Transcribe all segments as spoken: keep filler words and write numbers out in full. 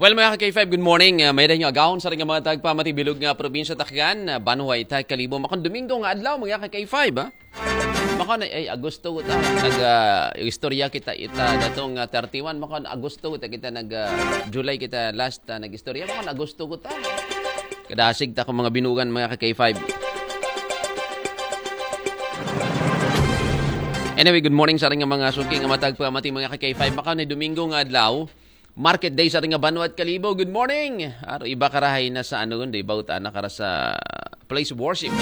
Well, mga ka-K five, good morning. Ah, may rin yung agaon sa rin nga mga tagpamati bilog nga probinsya Takyan, ah, Banwa ita Kalibo. Makon Domingo nga adlaw, mga ka-K five, ha? Makon ay, ay, Agosto ko ta. Nag, ah, istorya kita ita datong, ah, thirty-one. Makon Agosto ko ta kita nag, ah, July kita last, ah, nag-istorya. Makon Agosto ko ta. Kadasig ta kung mga binugan, mga ka-K five. Anyway, good morning sa rin nga mga suki nga matagpamati, mga ka-K five. Makon ay Domingo nga adlaw. Market day sa ring Banwa at Kalibo. Good morning. Aro iba karahay na sa ano, di ba, uta na kara sa place of worship.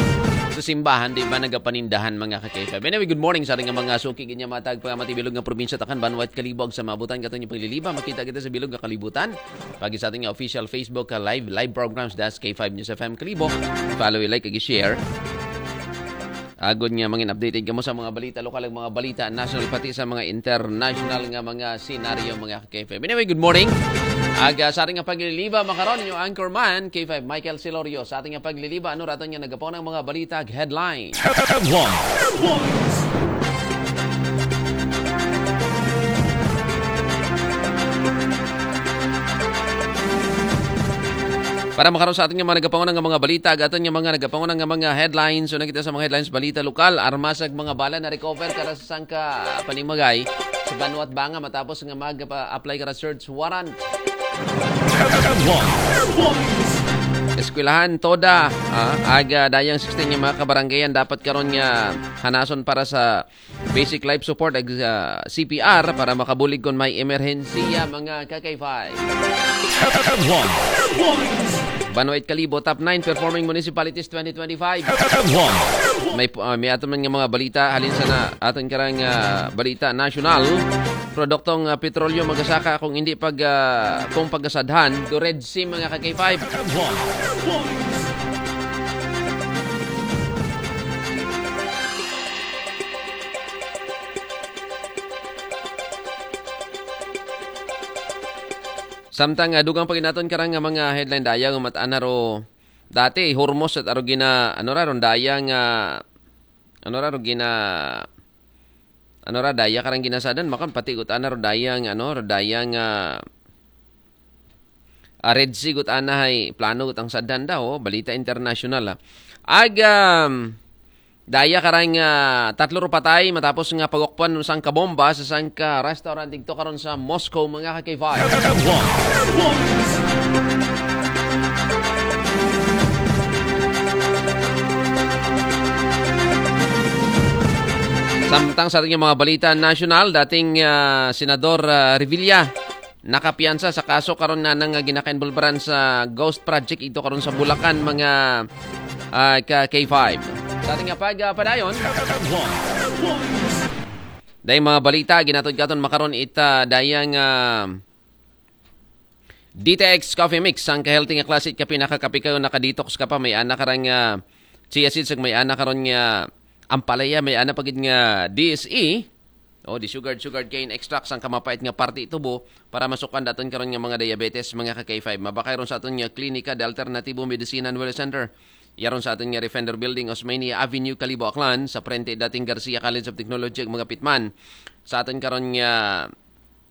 Sa simbahan, di ba, nagapanindahan, mga ka-K five. Anyway, good morning sa ring mga suki ginya matag pamati bilog nga probinsya Takyan, Banwa at Kalibo. Sa mabutan kato niyo pagliliba, makita kita sa bilog nga kalibutan. Pagi sa ating official Facebook, ah, live, live programs das K five News F M Kalibo. Follow, like, ag share. Agod nga mangin updated kamo sa mga balita lokal, ang mga balita national, pati sa mga international nga mga senaryo, mga ka-K five. Anyway, good morning. Aga sa ating pagliliba, makaron yung anchorman, K five Michael Silorio. Sa ating pagliliba, ano raton nga nagapon ang mga balita, headline. Headlines. Para makaron sa ating mga nagapangon nga mga balita, ag aton nga mga nagapangon nga mga headlines. So, nakita sa mga headlines, balita lokal, armas ag mga bala na recover kara sa sangka panimagay sa Banwa at Banga matapos nga mag-apply kara search warrant. Eskwelahan, toda, ah, aga dayang sixteen nga mga kabarangayan dapat karon nga hanason para sa basic life support ag, ah, C P R para makabulig kon may emerhensiya, mga ka-K five. Headlines. Banwa at Kalibo, top nine performing municipalities twenty twenty-five. Headlines. May, ah, may aton man nga mga balita, halin sa na aton karang, ah, balita national. Produktong, ah, petrolyo magasaka kung hindi pag, ah, kung pagasadhan, do Red Sea, mga ka-K five. Headlines. Samtang, ah, dugang paginaton karang nga mga headline daya nga mat-an na ro dati, Hormuz at aro gina, ano ra, ron daya nga, ano ra, ro gina, ano ra, daya karang ginasadan, makon pati gut ana ro daya nga, ano, ro daya nga, ah, Red Sea gut ana hay plano gut ang sadhan daw, oh, balita international, ah. Ag, um, daya karang, ah, tatlo ro patay matapos nga pagokpan sang kabomba sa sangka restaurant dito karon sa Moscow, mga ka-K five. Samtang sa ating mga balita national, dating, ah, Senador, ah, Revilla nakapiyansa sa kaso karon na nga ginakainvolbaran sa ghost project ito karon sa Bulacan, mga, ah, ka-K five. Sa ating nga pag, ah, padayon, dahil mga balita, ginatod katon makaron ita dayang, ah, D T X Coffee Mix, ang ka-healthy nga klase ka pinakakape kayo, naka-detox ka pa, may ana karang, ah, chia seeds, may ana karon nga ampalaya, may ana pagid nga D S E, o di sugar, sugar cane extract, sang kamapait nga parte tubo, para masukan daton karon nga mga diabetes, mga ka-K five. Mabakay ron sa aton nga klinika, The Alternativo Medicine and Wellness Center. Yaron sa aton nga Refender Building, Osmeña Avenue, Kalibo, Aklan, sa frente dating Garcia College of Technology, ug mga pitman. Sa aton karon nga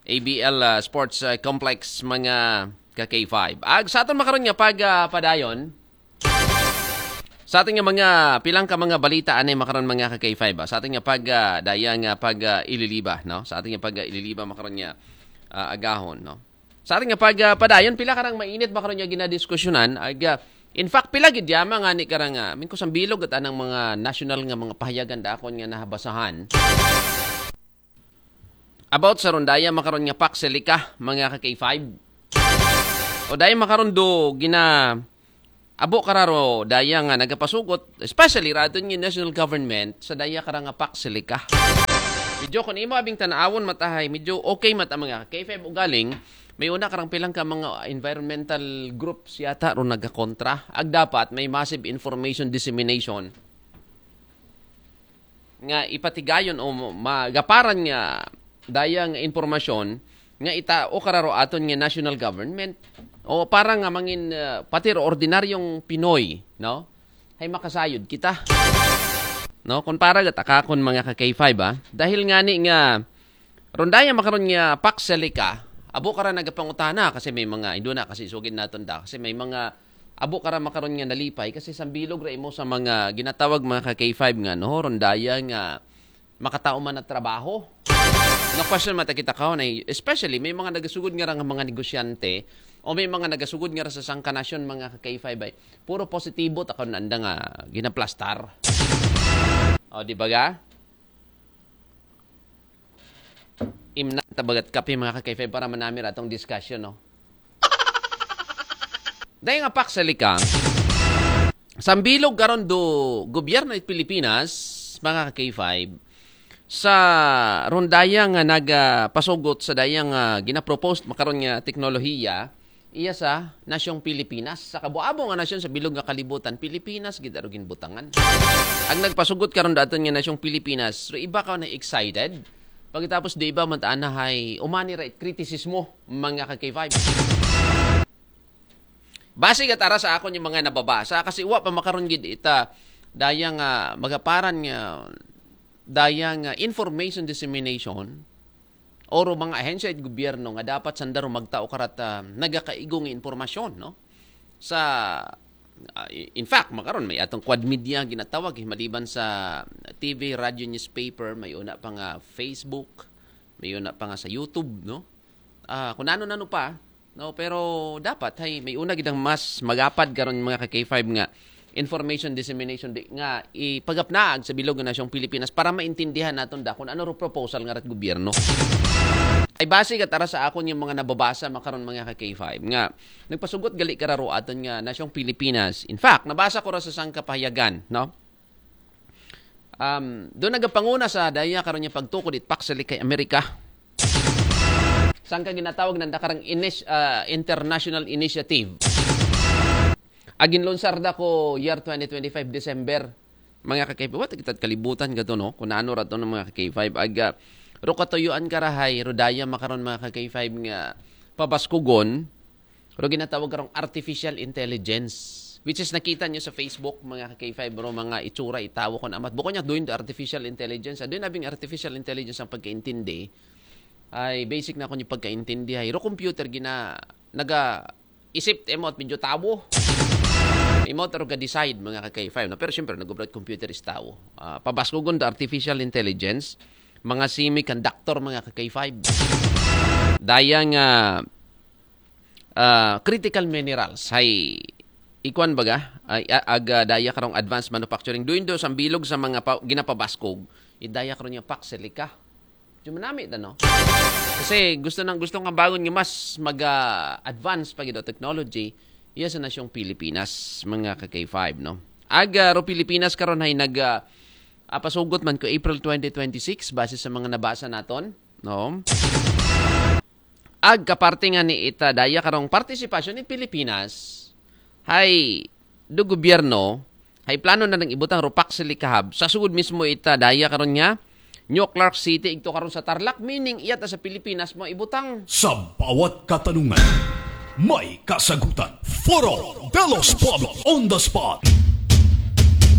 A B L, ah, Sports, ah, Complex, mga ka-K five. Ag sa aton makaron nga pag, ah, padayon, sa ating nga mga pilang ka mga balita anay makaron, mga ka-K five, ah. Sa ating nga pag, ah, daya nga pag, ah, ililiba, no? Sa ating nga pag, ah, ililiba makaron nga, ah, agahon, no? Sa ating nga pag, ah, padayon, pila karang mainit makaron nga ginadiskusyonan, ag, ah, in fact, pila gid yama nga ni karang, ah, min ko sambilog at anang mga national nga mga pahayagan dakon nga nahabasahan about sa ron daya makaron nga Pax Elica, mga ka-K five. O daya makaron do gina abo kararo daya nga nagapasugot, especially raton nga national government, sa daya karang nga Pax Elica. Medyo kung imo abing tanawon matahay, medyo okay mata, mga ka-K five, ugaling may una karang pilang ka mga environmental groups yata ron nagakontra. Ag dapat may massive information dissemination nga ipatigayon o magaparan nga dayang impormasyon nga itao kararo aton nga national government o para nga mangin, uh, pati ro ordinaryong Pinoy, no? Hay makasayod kita. No, kung para gat akakon, mga ka-K five, ah. Dahil nga ni nga ron daya makaron nga Pax Elica, Abo ka ra nagapangutana kasi may mga, indo na kasi isugid naton da, kasi may mga abo ka ra makaron nga nalipay kasi sambilog ra imo sa mga ginatawag, mga ka K five, nga, no, rondaya nga makatao man na trabaho. Na question mata kita kaon ay, especially may mga nagasugod nga ra nga mga negosyante o may mga nagasugod nga ra sa sangka nasyon, mga ka K five, ay puro positibo ta kaon anda nga ginaplastar. O, di ba ga? Imna ta bagat kape, mga ka K five, para manami ra atong discussion, no? Dahil nga paksalika, sambilog karon do gobyerno it Pilipinas, mga ka K five, sa rondaya nga nagapasugot sa dayang ah, ginapropose makaron nga teknolohiya, iya sa nasyong Pilipinas, sa kabuabo nga nasyon sa bilog nga kalibutan, Pilipinas gid aro ginbutangan. Ang nagpasugot karon daton nga nasyong Pilipinas, so iba ka na excited. Pagkatapos di iba man taana hay umani ra it kritisismo, mga ka K five. Base gat ara sa akon yung mga nababasa kasi wa pa makaron gid ita dayang ah, magaparan nga dayang ah, information dissemination or mga ahensya it gobyerno nga dapat sandaro magtao karat ah, nagakaigong impormasyon, no? Sa ah, i- in fact, makaron may atong quad media ginatawag eh, maliban sa T V, radio, newspaper, may una pa nga Facebook, may una pa nga sa YouTube, no? Ah, kung ano-ano pa, no? Pero dapat hay may una gid ang mas magapad karon, mga ka K five, nga information dissemination di, nga ipagapnaag sa bilog nga nasyong Pilipinas para maintindihan naton da kung ano ro proposal nga rat gobyerno. Ay base gat ara sa akon yung mga nababasa makaron, mga ka K five, nga nagpasugot gali kararo aton nga nasyong Pilipinas. In fact, nabasa ko ra sa sangka pahayagan, no? Um, doon nagapanguna sa daya karon niya pagtukod it paksalikay Amerika. Sangka ginatawag nanda karang inis, ah, international initiative. Agin lunsar da ko year twenty twenty-five December. Mga ka K five, wa ta kita kalibutan gato, no? Kung ano ra to ng mga ka K five, aga ro katuyuan karahay, rodaya makaron, mga ka K five, nga pabaskugon, ro ginatawag karong artificial intelligence. Which is nakita nyo sa Facebook, mga ka K five, ro mga itsura, itawo kon amat. Bukod niya, doon artificial intelligence. Doon abing artificial intelligence ang pagkaintindi. Ay, basic na ko niya pagkaintindi. Ay, ro computer, gina, naga, isip, emot, medyo tawo. Emot, ro ga-decide, mga ka K five. No? Pero siyempre, nag-operate computer is tawo. Ah, pabaskugon the artificial intelligence, mga semiconductor, mga ka K five. Daya nga ah, critical minerals hay ikuan baga ay a- ag ah, daya karong advanced manufacturing, doon do sa bilog sa mga pa, ginapabaskog, idaya karon niya pakselika. Medyo manami ta, no? Kasi gusto nang gusto nga bagon nga mas mag ah, advance pa gid technology, iya sa nasyong Pilipinas, mga ka K five, no? Aga ro Pilipinas karon hay nag ah, ah, pasugot man ko April twenty twenty-six base sa mga nabasa naton, no? Ag kaparte nga ni ita daya karong partisipasyon ni Pilipinas, hay do gobyerno, hay plano na nang ibutang rupak sa likahab sa sugod mismo ita daya karon nga New Clark City, igto karon sa Tarlac, meaning iyat sa Pilipinas mo ibutang. Sa bawat katanungan, may kasagutan. Foro de los Pueblos on the spot.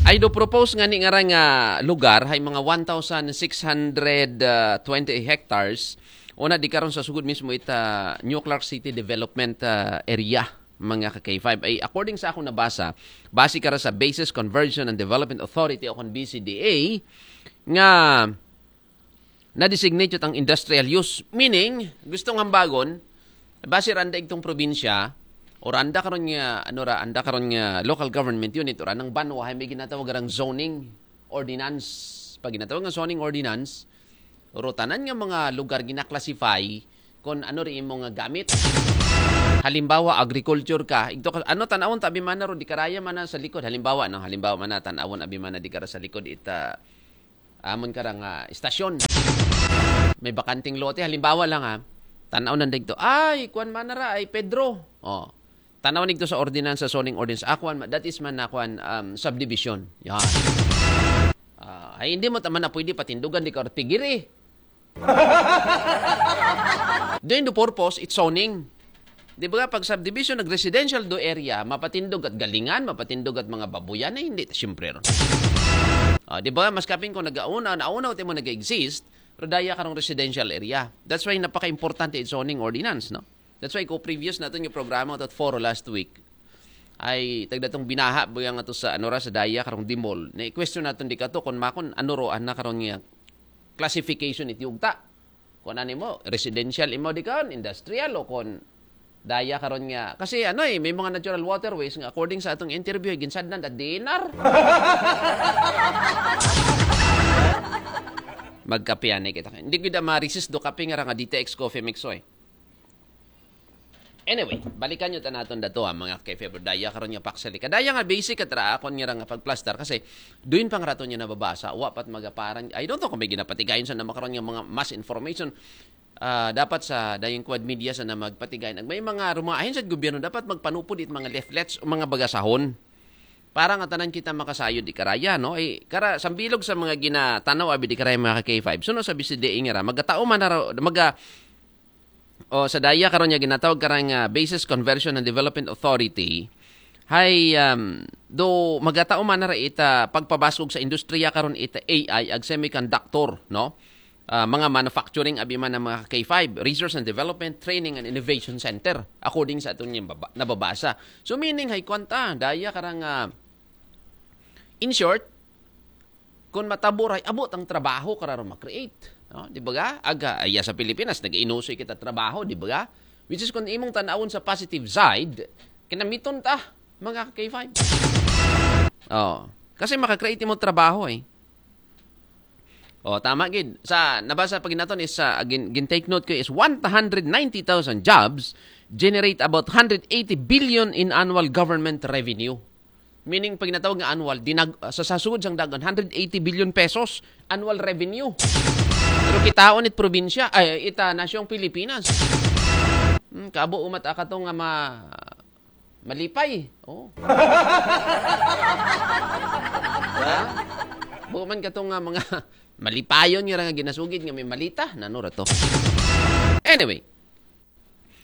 Ay do propose nga ni nga ra nga lugar hay mga one thousand six hundred twenty hectares. Una di karon sa sugod mismo ita New Clark City Development ah, Area, mga ka K five. Ay according sa akong nabasa, base kara sa Bases Conversion and Development Authority o kon B C D A, nga na-designate ang industrial use. Meaning, gustong hambagon, base randa igtong probinsya, o randa karon nga, ano ra, anda karon nga local government unit, o randang banwa, hay may ginatawag rang zoning ordinance. Pag ginatawag nga zoning ordinance, ro tanan nga mga lugar ginaklasify kung ano rin imo nga gamit. Halimbawa, agriculture ka. Igto ka, ano, tanawon tabi mana ro, di karaya mana sa likod. Halimbawa, no? Halimbawa mana, tanawon abi mana di kara sa likod ita amon ka ra nga istasyon. May bakanting lote, halimbawa lang ha. Tanaw nang digto. Ay, kuan man na ra, ay Pedro. Oh. Tanaw nigto sa ordinance, sa zoning ordinance. Ah, kuan, that is man na kuan, um, subdivision. Yan. Ah, ay, hindi mo taman na pwede patindugan, di ka ortigiri. Doon the purpose, it's zoning. Di ba pag subdivision, nag-residential do area, mapatindog at galingan, mapatindog at mga babuyan, eh, hindi, siyempre ron. Ah, di ba, mas kapin kung nag-auna, nauna, mo nag-exist, pero daya karong residential area. That's why napaka-importante it zoning ordinance, no? That's why ko previous naton nga programa, that four last week, ay tagdatong binaha ba yang ato sa ano ra sa daya karong Dimol. Na question naton di kato kung makon ano ro ana karon nga classification iti ugta. Kung ano mo, residential imo di karon, industrial o kung daya karon nga. Kasi ano eh, may mga natural waterways nga according sa atong interview, ginsadnan at dinar. Magkape ani kita. Hindi ko da ma-resist do kape nga ra nga D T X Coffee Mix, oy. Anyway, balikan nyo ta naton dato ha, mga kay Febro. Daya karon nga paksali. Kadaya nga basic at raakon nga ra nga pagplastar kasi duyon pang raton nga nababasa, wa pat magaparan. I don't know kung may ginapatigayon sa namakaron nga mga mass information. Ah, dapat sa dayong quad media sa na magpatigayon. Ag may mga rumaahin sa gobyerno, dapat magpanupod it mga leaflets o mga bagasahon. Para nga tanan kita makasayod di karaya, no? Ay, kara, sambilog sa mga ginatanaw abi di karaya mga ka-K five. Suno sa B C D A nga ra, magatao man na ra, maga, o sa daya karon nga ginatawag karang ah, Basis Conversion and Development Authority, hay, um, do magatao man na ra ita pagpabaskog sa industriya karon ita A I ag semiconductor, no? Ah, mga manufacturing abi man ang mga K five, Research and Development, Training and Innovation Center, according sa atong niyang baba- nababasa. So meaning, hay kwanta, daya karang, ah, in short, kung matabor ay abot ang trabaho kararo ma-create. No? Di ba ga? Aga, aya sa Pilipinas, nag-inusoy kita trabaho, di ba ga? Which is kung imong tanawon sa positive side, kinamiton ta, mga K five. Oh, kasi maka-create mo trabaho eh. Oh, tama gid. Sa nabasa pag naton is sa gin, gin take note ko is one hundred ninety thousand jobs generate about one hundred eighty billion in annual government revenue. Meaning, pag natawag nga annual, dinag, sa, sa sugod sang dagan, one hundred eighty billion pesos annual revenue. Pero kitaon it probinsya, ay, ita nasyong Pilipinas. Hmm, kabo umat akato nga ma, malipay. Oh. Ha? Buo man kato nga mga malipayon nga ra nga ginasugid nga may malita. Nano ra to? Anyway,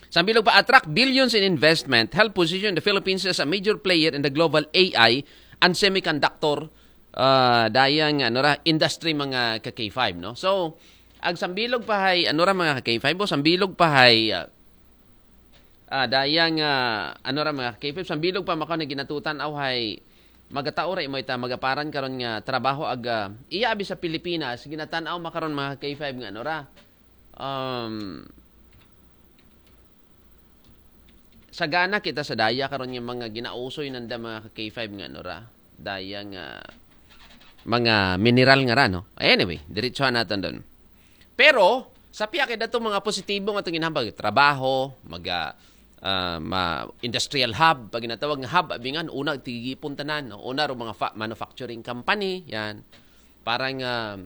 sambilog pa, attract billions in investment, help position the Philippines as a major player in the global A I and semiconductor, uh, dayang ano ra, industry mga ka K five, no? So, ag sambilog pa hay, ano ra mga ka K five, o sambilog pa hay, uh, ah, dayang, uh, ano ra mga ka K five, sambilog pa makaw na ginatutan aw hay magatao ra imo ita magaparan karon nga trabaho ag, ah, iya abi sa Pilipinas, ginatan-aw makaron mga ka K five nga ano ra. Um, sagana kita sa daya karon nga mga ginausoy nanda mga ka K five nga ano ra, daya nga mga mineral nga ra, no? Anyway, diretsohan naton doon. Pero sa piya kay dato mga positibo nga itong ginhambag, trabaho, maga, ah, ma, industrial hub, pag ginatawag nga hub, abingan, una tigipon tanan, no? Una ro mga fa, manufacturing company, yan. Parang, ah,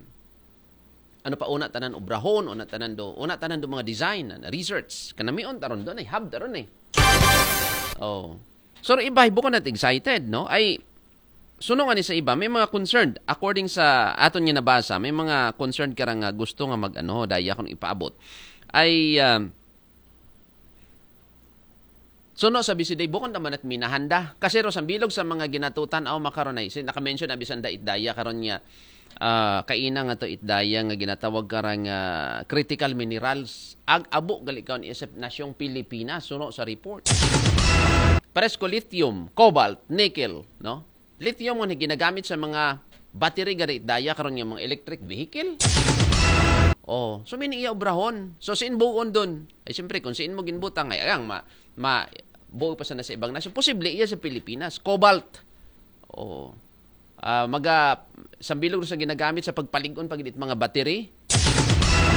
ano pa, una tanan obrahon, una tanan do, una tanan do mga design, na research. Kanamion taron doon eh, hub taron eh. Oh. So, iba, bukon na excited, no? Ay, suno nga ni sa iba, may mga concerned. According sa aton nga nabasa, may mga concerned ka nga gusto nga mag-ano, daya kung ipaabot. Ay, um, suno sa B C D, bukon naman at minahanda. Kasi ro, sambilog sa mga ginatutan, aw makaron ay, sin, naka-mention na bisan da itdaya karon nga, ah, kaina nga to itdaya nga ginatawag karang, ah, critical minerals. Ag abo gali kaon isip nasyong Pilipinas, suno sa report. Pares ko lithium, cobalt, nickel, no? Lithium nga ginagamit sa mga battery gari daya karon nga mga electric vehicle. Oh, so meaning iya obrahon. So sin buon dun? Ay siyempre kung sin mo ginbutang ay ang ma, ma buo pa sana sa ibang nasyon. Posible iya sa Pilipinas. Cobalt. Oh. Ah, maga sambilog sa ginagamit sa pagpalig-on pag it mga battery.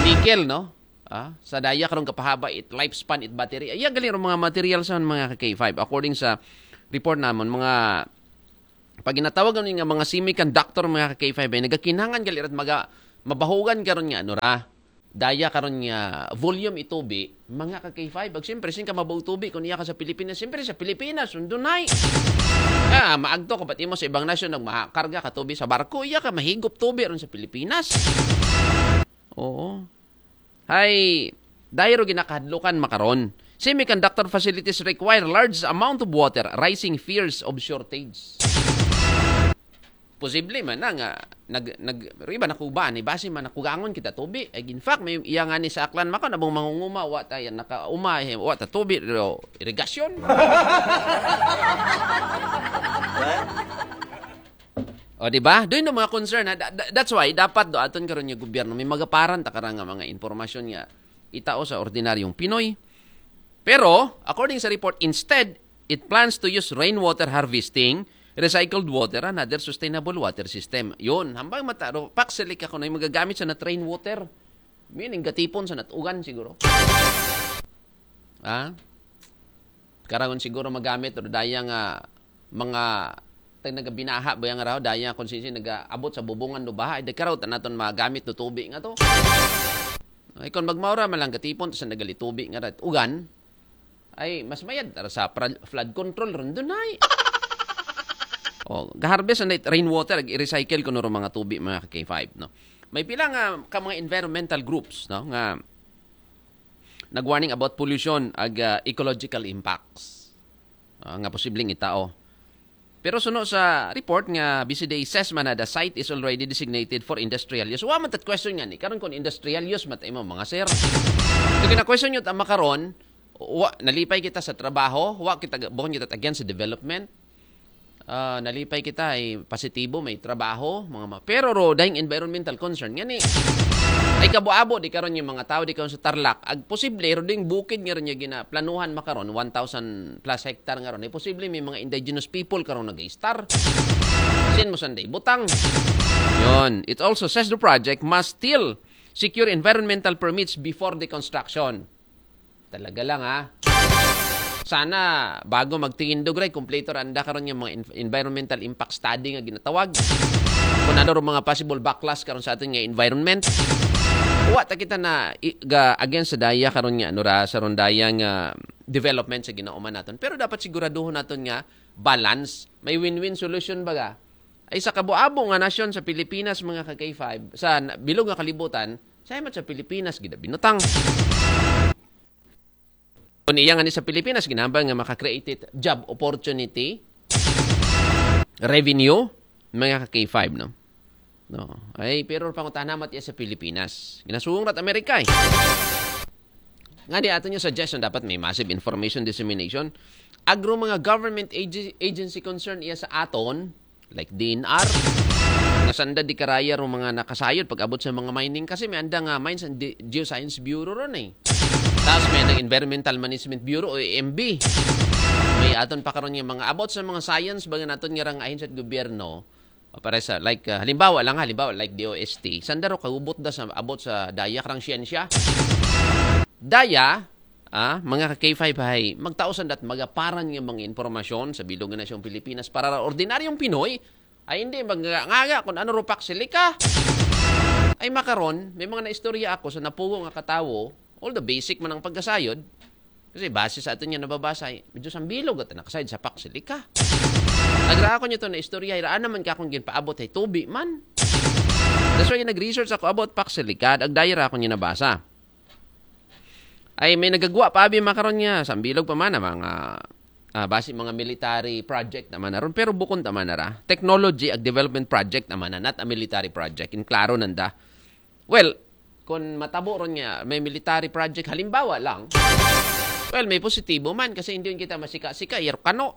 Nickel, no? Ah, sa daya karon kapahaba it lifespan it battery. Ay gali ron mga materials sa mga ka K five. According sa report namon, mga pag ginatawag nga mga semiconductor, mga ka K five, ay nagakinangan gali rat maga, mabahugan karon nga ano ra. Daya karon nga volume itubi, mga ka K five. Ag siyempre, sin ka mabaw tubi kung iya ka sa Pilipinas? Siyempre, sa Pilipinas, sundunay. Ah, maagto ko pati mo sa ibang nasyon nagmakarga ka tubi sa barko, iya ka mahigop tubi ron sa Pilipinas. Oo. Hay, dayro ginakahadlukan makaron. Semiconductor facilities require large amount of water, rising fears of shortage. posible man na nga nag nag riba na kuba ni basi man nakugangon kita tubi. Ay, in fact, may iya nga ni sa Aklan makaw na bang mangunguma, wa ta yan nakauma, eh, wa ta tubi, pero irigasyon. O, di ba? Doon yung mga concern, ha? Tha- tha- that's why dapat do aton karon yung gobyerno may magaparan ta karang nga mga impormasyon nga itao sa ordinaryong Pinoy. Pero, according sa report, instead, it plans to use rainwater harvesting, recycled water, and other sustainable water system. Yun, hambal mataro, paksili ka kung ano yung magagamit sa nat rainwater. Meaning, gatipon sa nat ugan siguro. Ah? Karangon siguro magamit o daya nga mga tag nagabinaha ba yang raw daya kung sino nagaabot sa bubungan do baha, ay karaw ta naton magamit do tubi nga to. Ay, kung magmaura man lang gatipon sa nagalitubi nga rat ugan, ay mas mayad tara sa pra- flood control ron dun ay. Oh, gaharvest na rainwater, i-recycle ko no mga tubi, mga K five, no. May pila nga ka mga environmental groups, no, nga nag-warning about pollution ag ah, ecological impacts, ah, nga posibleng itao. Pero suno sa report nga B C D A says man na the site is already designated for industrial use. Wa man tat question nga ni karon kung industrial use mat imo mga sir. So kina question nyo ta makaron, wa nalipay kita sa trabaho, wa kita bukon kita against sa development. Ah, nalipay kita ay positibo, may trabaho, mga ma- pero ro dahil environmental concern nga ni ay kabo-abo di karon yung mga tao di karon sa Tarlac, ag posible ro ding bukid nga ron yung ginaplanuhan makaron one thousand plus hectare nga ron, ay posible may mga indigenous people karon nag-star. Sin mo sanday butang. Yon, it also says the project must still secure environmental permits before the construction. Talaga lang ha. Sana bago magtingindog ray, kompleto ra anda karon yung mga env- environmental impact study nga ginatawag. Kung ano ro mga possible backlash karon sa aton nga environment. Wa ta kita na i- ga against sa daya karon nga ano ra sa ron daya nga development sa ginauman naton. Pero dapat siguraduhon naton nga balance. May win-win solution baga. Ay sa kabo-abo nga nasyon sa Pilipinas, mga ka K five, sa na- bilog nga kalibutan, sa imat sa Pilipinas gida binutang. Kung iya nga ni sa Pilipinas, ginambal nga maka-create job opportunity, revenue, mga ka K five, no? No. Ay, pero pangutana mat iya sa Pilipinas. Ginasuwong rat Amerika eh. Nga di ato yung suggestion, dapat may massive information dissemination. Agro mga government ag- agency concern iya sa aton, like D N R, nga sanda di karaya ro mga nakasayod pag-abot sa mga mining kasi may anda nga mines and Ge- Geoscience Bureau ron eh. Tapos may nang Environmental Management Bureau o E M B. May aton pa karon yung mga abot sa mga science baga naton nga rang ahensya sa gobyerno. O para sa like ah, halimbawa lang halimbawa like D O S T. Sanda ro kagubot da sa abot sa daya karang siyensya. Daya ah, mga ka K five hay, magtausan dat magaparan nga mga impormasyon sa bilog nga nasyong Pilipinas para ra ordinaryong Pinoy ay hindi magngaga kung ano rupak silika. Ay makaron, may mga naistorya ako sa napugo nga katawo, all the basic man ang pagkasayod, kasi base sa aton nga nababasa, ay, medyo sambilog at nakasayod sa paksilika. Nagra ako nyo to na istorya, iraan naman ka akong ginpaabot ay tubi man. That's why nag-research ako about paksilika, ag daya ra ako nyo nabasa. Ay may nagagwa pa abi makaron nga sambilog pa man ang mga ah, basi mga military project naman na ron pero bukon ta man na ra technology ag development project naman na not a military project in klaro nanda. Well, kung matabo ron nga may military project halimbawa lang, well may positibo man kasi hindi kita masika-sika iyar kano.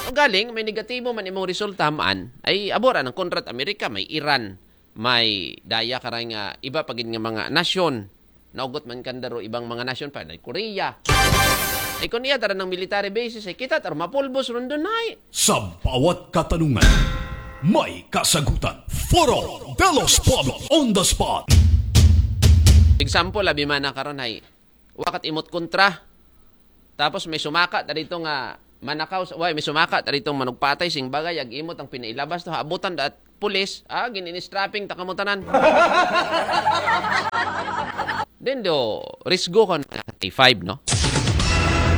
O galing may negatibo man imong resulta man ay abora ng kontra Amerika, may Iran, may daya karay nga iba pa gid nga mga nasyon. Naugot man kandaro ibang mga nasyon pa, na Korea. Ay kung iya tara ng military bases, ay kita tara mapulbos ron dun ay. Sa bawat katanungan, may kasagutan. Foro de los Pueblos on the spot. Example, abi man na karon ay wakat imot kontra. Tapos may sumaka ta dito nga manakaw, sa- way, may sumaka ta dito manugpatay sing bagay, ag imot ang pinailabas to, haabutan dat pulis, ah, gin-strapping ta kamo tanan. Then do, risgo ko na K five, no?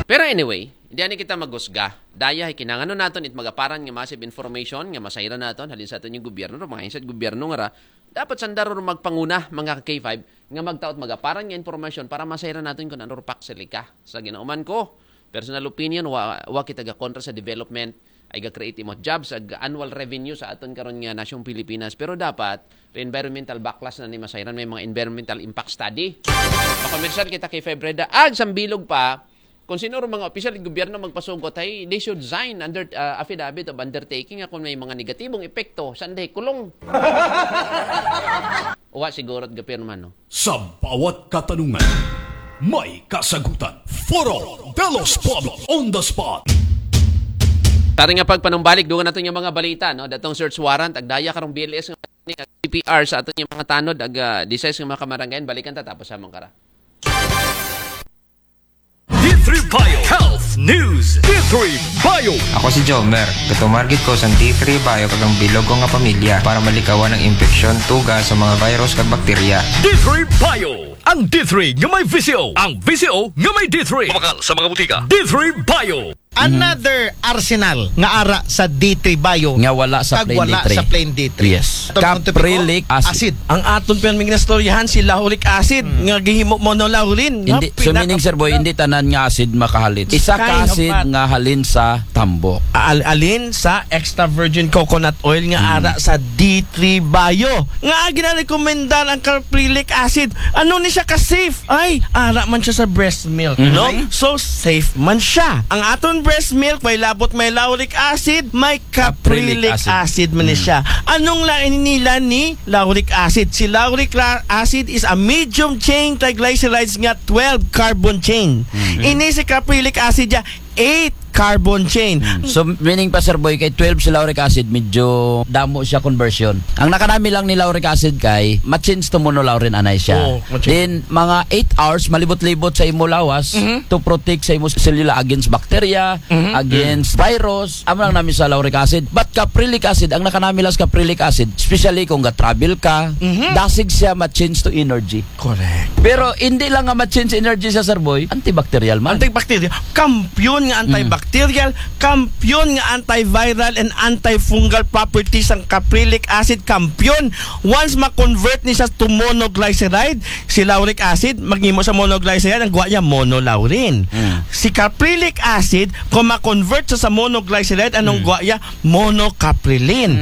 Pero anyway, hindi ani kita magusga. Daya ay kinangano naton it magaparan nga massive information nga masayran naton halin sa aton yung gobyerno, mga insat gobyerno nga ra, dapat sandaro magpanguna mga K five nga magtaot magaparan nga impormasyon para masayran naton kung ano rupak silika. Sa ginauman ko, personal opinion, wa, wa kita ga kontra sa development Ay ga-create imo jobs, ag annual revenue sa aton karon nga nasyong Pilipinas. Pero dapat, environmental backlash na ni masayran, may mga environmental impact study. Makomersyal kita kay Febreda. Ag sambilog pa, kung sino ro mga opisyal ng gobyerno magpasugot, ay they should sign under uh, affidavit of undertaking kung may mga negatibong epekto sa anday kulong. Uwa siguro at gapirma, no? Sa bawat katanungan, may kasagutan. Foro Delos Pop on the spot. Tari nga pagpanumbalik, dugan natin yung mga balita, no? Datong search warrant, agdaya karong B L S nga C P R sa aton yung mga tanod, ag uh, designs ng mga kamarangayan, balikan ta tapos sa mangkara. D three Bio Health News. D three Bio. Ako si Jomer. Katumargit ko sa D three Bio kagang bilog ko nga pamilya para malikawan ang impeksyon, tuga sa mga virus kag bakterya. D three Bio. Ang D three nga may V C O. Ang V C O nga may D three. Mabakal sa mga butika. D three Bio. Another arsenal nga ara sa D three Bio. Nga wala sa Kag plain wala D three. sa plain D three. Yes. Itong tubig ko, Caprylic acid. Acid. Ang aton pirming nastoryahan si lauric acid nga gihimo monolaurin. Nga Hindi, so pinaka- meaning, Sir Boy, hindi tanan nga acid makahalin. Isa Kind ka of acid bad. Nga halin sa tambok. Al- alin sa extra virgin coconut oil nga ara sa D three Bio. Nga ginarekomendar ang caprylic acid. Ano ni siya ka safe? Ay, ara man siya sa breast milk, no? So safe man siya. Ang aton breast milk may labot may lauric acid, may caprylic Caprylic acid, acid. man ni siya. Anong lain nila ni lauric acid? Si lauric la- acid is a medium chain triglycerides nga twelve carbon chain. Ini si caprylic acid ya eight carbon chain. So meaning pa, Sir Boy, kay twelve si lauric acid, medyo damo siya conversion. Ang nakanami lang ni lauric acid kay ma-change to monolaurin anay siya. Oo, ma-change. Then mga eight hours malibot-libot sa imo lawas to protect sa imo selula against bacteria, against virus. Amo lang nami sa lauric acid. But caprylic acid, ang nakanami lang sa caprylic acid, especially kung ga-travel ka, dasig siya ma-change to energy. Correct. Pero hindi lang nga ma-change energy sa, Sir Boy, antibacterial man. Antibacterial. Kampiyon nga antibacterial, kampiyon nga antiviral and antifungal properties ang caprylic acid. Kampiyon. Once ma-convert ni siya to monoglyceride, si lauric acid, maghimo sa monoglyceride, ang guwa niya monolaurin. Si caprylic acid, kung ma-convert sa, sa monoglyceride, anong guwa niya? Monocapryline.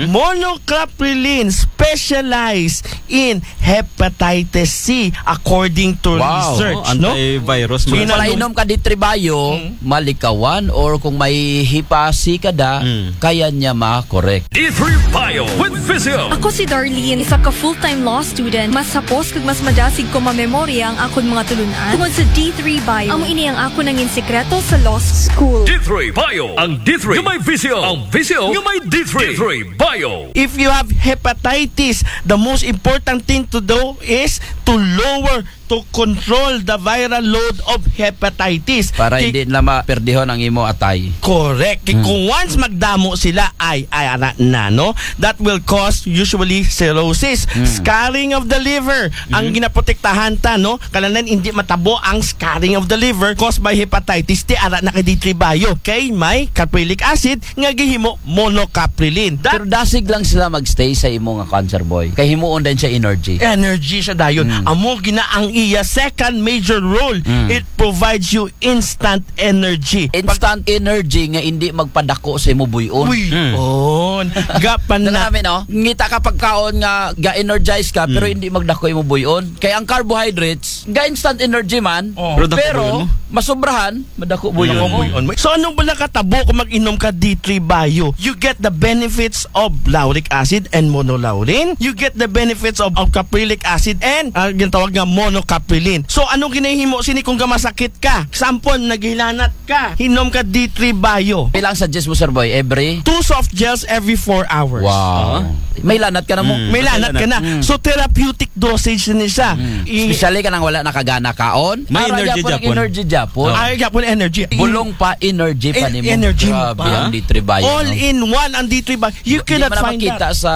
Monocapryline specialized in hepatitis C according to Wow. research, Oh, no? Antivirus Sige man. na. Palainom ka D three Bio, malikawan, or kung may hipasi ka da, kaya niya ma-correct. D three Bio with Physio. Ako si Darlene, isa ka full-time law student. Mas hapos kag mas madasig ko mamemorya ang akon mga tulunan tungod sa D three Bio. Amo ini ang akon nangin sekreto sa law school. D three Bio. Ang D three nga may V C O. Ang V C O nga may D three. D three Bio. If you have hepatitis, the most important thing to do is to lower, to control the viral load of hepatitis. Para Ki- hindi na maperdihon ang imo atay. Correct. Kay Kung once magdamo sila, ay, ay, ara na, no? That will cause usually cirrhosis, scarring of the liver. Ang ginaprotektahan ta, no? Kalanan hindi matabo ang scarring of the liver caused by hepatitis. Ti ara na kay D three Bio. Kay may caprylic acid nga gihimo monocapryline. That Pero dasig lang sila magstay sa imo nga cancer, boy. Kay himuon din siya energy. Energy siya dayon. Amo gina ang iya second major role. It provides you instant energy. Instant energy nga hindi magpadako sa imo buyon. Uy, on. Gapan na. Nami, no? Ngita ka pagkaon nga ga-energize ka pero hindi magdako imo buyon. Kay ang carbohydrates, ga-instant energy man, Oh. Pero dako pero buyon mo. Masobrahan, madako buyon Ang mo. buyon mo. So anong pala katabo kung mag-inom ka D three Bio? You get the benefits of lauric acid and monolaurin. You get the benefits of, of caprylic acid and ah, ginatawag nga monocapryline. So anong ginahimo sini kung gamasakit ka? Example, naghilanat ka. Hinom ka D three Bio. Pila ang suggest mo, Sir Boy? Every? Two soft gels every four hours. Wow. May lanat ka na mo. May lanat ka na. So therapeutic dosage ni siya. I- Especially ka nang wala nakagana kaon. May Ara energy gyapon ang gyapon. Energy gyapon. Ay, gyapon energy. Bulong pa, energy pa Eh, nimo. energy Grabe pa. Ang D three Bio. All No? in one ang D three Bio. You Di cannot man na find makita that. Sa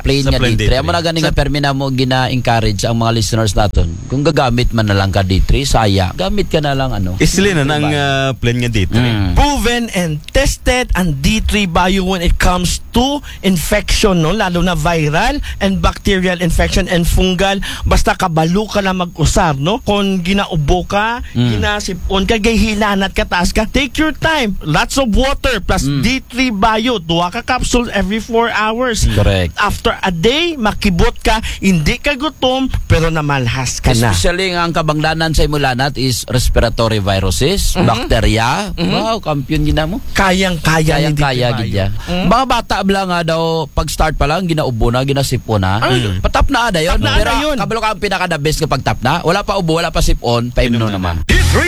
plain Sa nga plain D three. D three. Amo na gani nga Sa- permi na mo gina-encourage ang mga listeners. listeners naton, kung gagamit man na lang ka D three, saya, gamit ka na lang ano. Isli na nang Bio. Ah, plain nga D three. Mm. Proven and tested ang D three Bio when it comes to infection, no? Lalo na viral and bacterial infection and fungal. Basta kabalo ka lang mag-usar, no? Kung ginaubo ka, Mm. ginasipon ka, gahilanat ka, taas ka, take your time. Lots of water plus Mm. D three Bio. Duha ka capsule every four hours. Correct. After a day, makibot ka, hindi ka gutom, pero namalhas ka na. Especially nga ang kabangdanan sa imo lanat is respiratory viruses, bacteria. Wow, kampiyon gid na mo. Kayang-kaya ni Kayang-kaya D three gid Bio. ya. Mga bata bala nga daw pag-start pa lang ginaubo na, ginasipon na. Ay. Patapna na yon. Tapna na Pero yun. Kabalo ka ang pinaka the best nga pagtapna. Wala pa ubo, wala pa sipon, paimno naman.